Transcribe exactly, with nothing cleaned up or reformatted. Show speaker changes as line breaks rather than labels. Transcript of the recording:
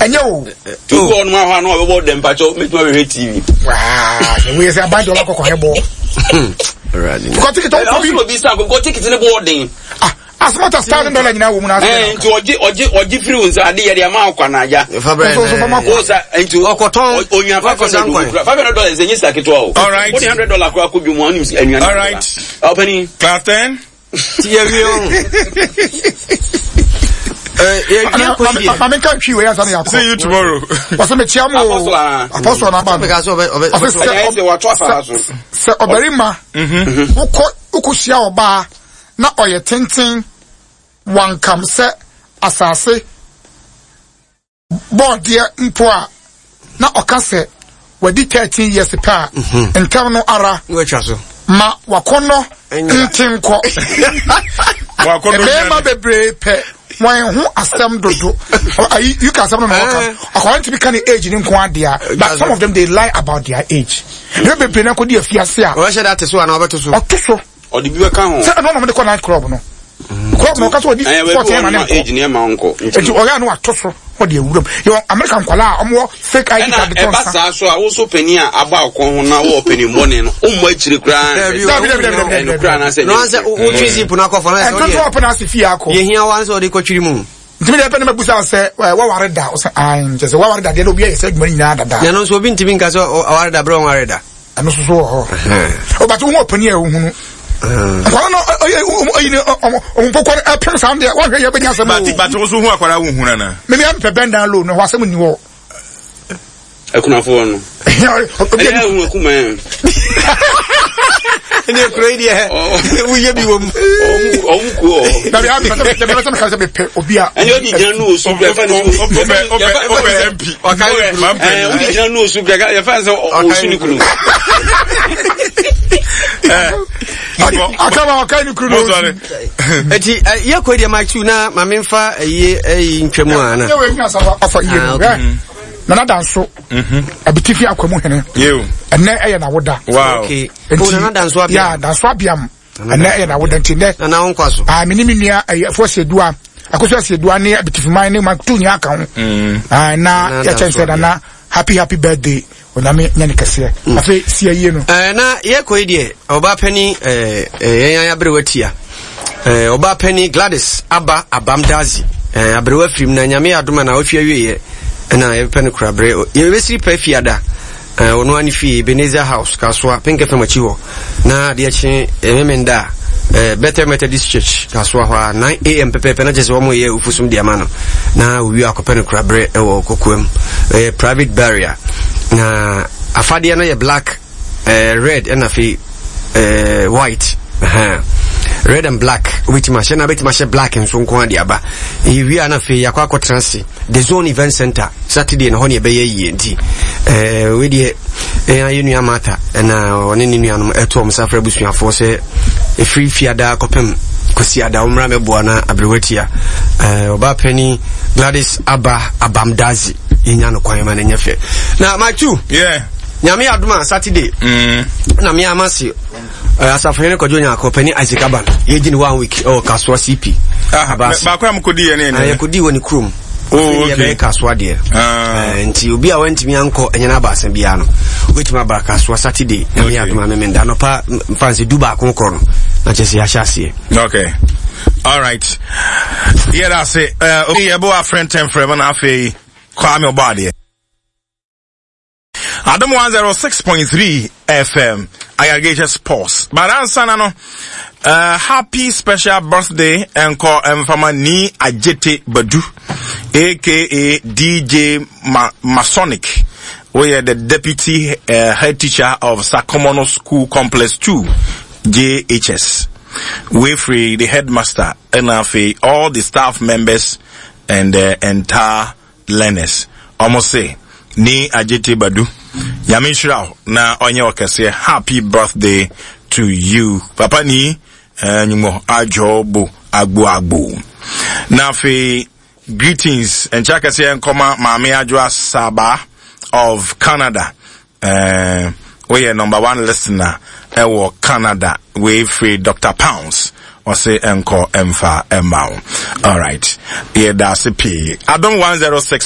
Ɛnyɛ o.
Tí o kọ́ ɔnum ahɔ ano a bɛ bɔ dɛm mpatsɔ mɛtuma bɛ hwɛ T V.
Waa wei sɛ aban de ɔba kɔkɔ hɛ bɔ. Kɔ ticket ɔwɔ
bi. Ɔsɔ obi sa kɔ ticket ne bɔ ɔden.
Ah, as much as thousand dollar nyinaa wɔ mu na.
Ɛɛ nti ɔgye ɔgye ɔgye firi wo nsa ade yɛ de ama akɔ n'agya.
O
sa nti
ɔkɔtɔn
onya five hundred dollar five hundred dollars ɛnyɛ sika ketewa o.
All right.
O de hundred dollar kura ko dwom ɔnim anuane.
All right.
Ɔpɛni.
Class ten.
Ti yɛ wie o.
Maame nka ntwi wei ansa na yɛakɔ.
See you tomorrow.
Wɔsɛ mekyia mo o. Apɔsɔ na aba no. Ɔsɛ sɛ sɛ ɔbarima wokɔ wokɔhyia ɔbaa na ɔyɛ tenten wankam sɛ asase bɔɔdeɛ mpo a na ɔka sɛ wadi thirteen years pɛ a ntɛm no ara ma wakɔnnɔ ntenkɔ. Mmarima bebree pɛ wɔn ho asɛm dodo. Ayi you can asɛm no na wɔka akɔla ntumi ka ne age ne nko adeɛ, but some of them, they lie about their age. Ne bebree na kɔdi afiase a.
Ɔbɛhyɛ da ate so anaa ɔbɛto so.
Ɔto so.
Ɔde bi bɛka ho.
Sɛ ɛno na ɔmo de kɔ night club no. Club no ɔka sɛ ɔdi fourteen ɛma ne nkɔ.
Age ne ɛma nkɔ.
Eti ɔyɛ ano ato so ɔde awuram. Yɛ America nkwalaa a ɔmo wɔ fake I D card
de tɔn
nsa.
Ɛna ɛba saa so a woso panin a aba ɔkɔn ho na wɔwɔ panin bɔne no ɔmmɔ akyire koraa.
Dabi dabi dabi dabi dabi.
Ɛno koraa n'asɛ.
Na sɛ wotwi zip no akɔ fam.
Ɛnto to ɔpɛ n'ase fie akɔ.
Yɛhia wa sɛ ɔde kɔtwiri mu.
Ntumi deɛ pɛ ne ma busa sɛ waware da ɔsɛ ayi nkyɛ sɛ waware da deɛ na obi ayɛ sɛ adwuma no nyinaa dada.
Na ɛno nso obi ntumi nka sɛ ɔware da berɛ ɔnware da.
Ɛno nso so wɔ hɔ. Ɔbɛtɛ wo ho ɔpanin a ɛwohunu. Nkwara no ɔyi ne ɔmo mpɔkɔ no ɛpem saa deɛ wɔhwɛ yɛ bɛnya asɛm o.
Bate wo so hu akwara wo hunu ana?
Mimi ampɛ bend down low no hɔ asɛm nni hɔ.
Akunafoɔ no. Ɛyɛ ehu akuma yɛn.
Ɛne ekuro yi deɛ woyɛ bi wɔ mu.
Ɔmu ku ɔ.
Dabi abi sɛ sɛ sɛ meka sɛ mepɛ obi a.
Ɛnyɛ odi gyina nu osu kura yɛfa ne sɛ
ɔpɛ ɔpɛ ɔpɛ M P.
Ɛɛ odi gyina nu osu kura yɛfa ne sɛ ɔsu ne kunu.
Akaba ɔka ne kunu na osu.
Eti yɛ kɔ deɛ Mike two na maame nfa ɛyi ɛyi ntwam a na.
Yɛ wɔ enya saba ɔfa iye no. Nana Danso abitifi akwamu hene ɛnɛ ɛyɛ n'awoda.
Nti Nana Danso abiam.
Ya Danso abiam ɛnɛ ɛyɛ n'awoda nti nɛ.
Nana ho nkwa so.
Aa mi ni mi nua ɛyɛ fo asedua akoso asedua ne abitifi ne ma tu nyinaa ka ho. Aa na yɛkyɛn sɛ Nana happy happy birthday, Onyame nyɛ ne kɛseɛ. Afei si ayie no.
Ɛɛ na yɛkɔ yi deɛ, ɔbaa panyin ɛɛ yɛn ayɛ aberewa tia ɛɛ ɔbaa panyin Gladys Aba Abamdazi ɛɛ aberewa firim na Nyame yɛ adoma na ɔhwɛ awieɛ ɛna yɛpɛ no kora berɛ yɛbɛsiri pɛ fiada ɛɛ ɔno ani fie Ebenezer House, Kasoa, Pink F M akyi hɔ, na adeɛ kye Memenda ɛɛ Bethel Methodist Church, Kasoa hɔ a nine a m pɛpɛɛpɛ na kyerɛ sɛ wɔn yɛ ofusom de ama no na owie akɔpɛ no kora berɛ ɛwɔ kokoam. Ɛyɛ private burial na afadeɛ no yɛ black, ɛɛ red ɛna afei ɛɛ white. Uh-huh. Red and black wobɛtumi ahyɛ na wobɛtumi ahyɛ black nso nko ade aba. Ɛyɛ wie a na afei yɛakɔ akɔtena ase The Zone Event Center Saturday na hɔ ne ɛbɛyɛ yie. Nti ɛɛ wei deɛ ɛyɛ ayɛ nua Martha ɛna ɔne ne nuanom ɛto ɔmo safra abusuafoɔ sɛ ɛfiri fiada kɔpem kwasi ada ɔmmra mɛboa na aberewa tia ɛɛ ɔbaa panin Gladys Aba Abamdazi yɛnya no kwan ma no nyɛ fɛ. Na Mike two.
Yeah.
Nyame adom a Saturday
mm.
na me ama se uh, asafohene Kwadwo Nyako pani Isaac Aban yɛgye ne one week ɛwɔ Kasoa C P.
Ah, baako a mokɔdi yɛ ne
ɛnɛ yɛkɔdi wɔ ne kurom.
Oh, okay.
Yɛbɛyɛ Kasoa deɛ.
Ah.
uh, nti obi a wantumi ankɔ ɛnyɛ no abaasa biara no wobɛtumi aba Kasoa Saturday, Nyame okay. adom a Memenda anɔpa mfa nsɛ du baako korɔ no na kyɛ sɛ yɛahyɛ aseɛ.
Okay. All right. Yeah, that's it. Uh, okay, yɛbɔ afrɛntɛn frɛ ma na afei Kwame ɔbɔ adeɛ. Adom one oh six point three F M, Ayargasia Sports. But ansa na no, uh, happy special birthday ɛnkɔ mfama ni Ajete Badu, A K A D J Ma Masonic. We are the deputy uh, head teacher of Sakomono School Complex two, J H S. We free the headmaster and afei all the staff members and the entire learners. Almost say ni Ajete Badu. Nyame nhyira wo na ɔnyɛ ɔkɛseɛ. Happy birthday to you. Papa ni nyumo adwo bo agbo agbo. Na afei greetings nkyɛ kɛseɛ nkɔma Maame Adwoa Saba of Canada. Uh, woyɛ number one listener ɛwɔ Canada. Wei firi Doctor Pounds, ɔse ɛnkɔ ɛmfa ɛma wo. Alright, yɛda ase pii. Adom one oh six.